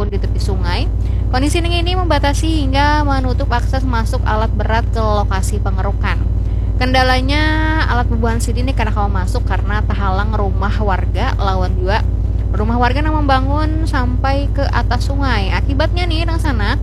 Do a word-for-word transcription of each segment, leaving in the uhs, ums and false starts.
di tepi sungai. Kondisi nang ini membatasi hingga menutup akses masuk alat berat ke lokasi pengerukan. Kendalanya, alat bubuhan sidin ni kada kawa masuk karena tahalang rumah warga lawan jua rumah warga nang membangun sampai ke atas sungai. Akibatnya nih, nang sanak,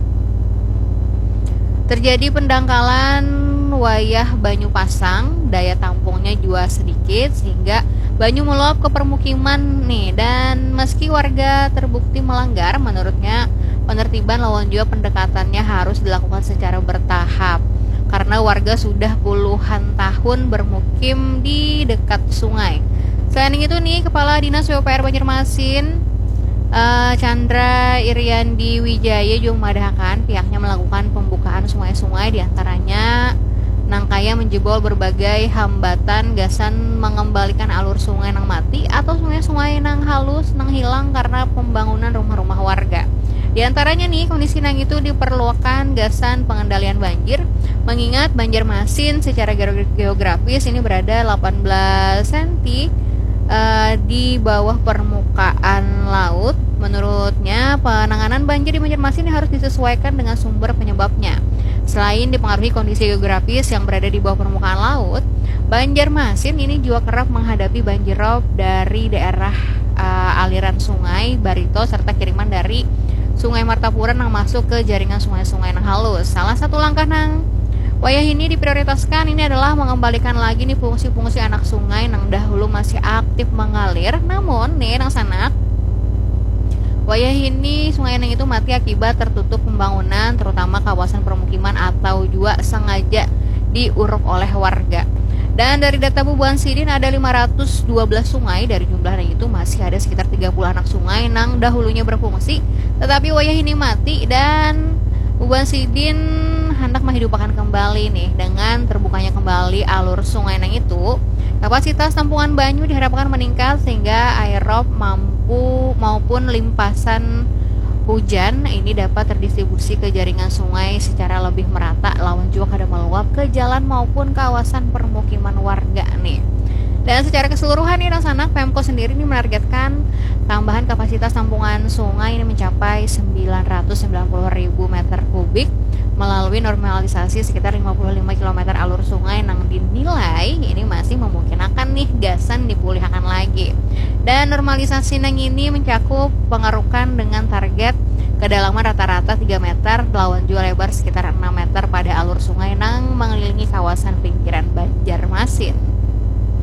terjadi pendangkalan wayah banyu pasang, daya tampungnya jua sedikit sehingga banyu meluap ke permukiman nih. Dan meski warga terbukti melanggar, menurutnya penertiban lawan jua pendekatannya harus dilakukan secara bertahap karena warga sudah puluhan tahun bermukim di dekat sungai. Selain itu nih, Kepala Dinas P U P R Banjarmasin, eh, Chandra Iriandi Wijaya juga memadahakan pihaknya melakukan pembukaan sungai-sungai, diantaranya nang kaya menjebol berbagai hambatan gasan mengembalikan alur sungai nang mati atau sungai-sungai nang halus nang hilang karena pembangunan rumah-rumah warga. Diantaranya nih, kondisi nang itu diperlukan gasan pengendalian banjir, mengingat Banjarmasin secara geo- geografis ini berada delapan belas senti eh, di bawah permukaan laut. Menurutnya, penanganan banjir di Banjarmasin ini harus disesuaikan dengan sumber penyebabnya. Selain dipengaruhi kondisi geografis yang berada di bawah permukaan laut, Banjarmasin ini juga kerap menghadapi banjirop dari daerah eh, aliran sungai Barito serta kiriman dari Sungai Martapura nang masuk ke jaringan sungai-sungai nang halus. Salah satu langkah nang wayah ini diprioritaskan ini adalah mengembalikan lagi nih fungsi-fungsi anak sungai nang dahulu masih aktif mengalir. Namun nih, nang sanak, wayah ini sungai nang itu mati akibat tertutup pembangunan, terutama kawasan permukiman atau juga sengaja diuruk oleh warga. Dan dari data bubuhan sidin, ada lima ratus dua belas sungai. Dari jumlah nang itu, masih ada sekitar tiga puluh anak sungai nang dahulunya berfungsi, tetapi wayah ini mati. Dan bubuhan sidin hendak menghidupakan kembali nih dengan terbukanya kembali alur sungai nang itu. Kapasitas tampungan banyu diharapkan meningkat sehingga air rop mampu maupun limpasan hujan ini dapat terdistribusi ke jaringan sungai secara lebih merata lawan juga kada meluap ke jalan maupun kawasan permukiman warga nih. Dan secara keseluruhan nih, nang sanak, Pemko sendiri ini menargetkan tambahan kapasitas tampungan sungai ini mencapai sembilan ratus sembilan puluh ribu meter kubik melalui normalisasi sekitar lima puluh lima kilometer alur sungai nang dinilai ini masih memungkinakan nih gasan dipulihakan lagi. Dan normalisasi nang ini mencakup pengerukan dengan target kedalaman rata-rata tiga meter lawan jua lebar sekitar enam meter pada alur sungai nang mengelilingi kawasan pinggiran Banjarmasin.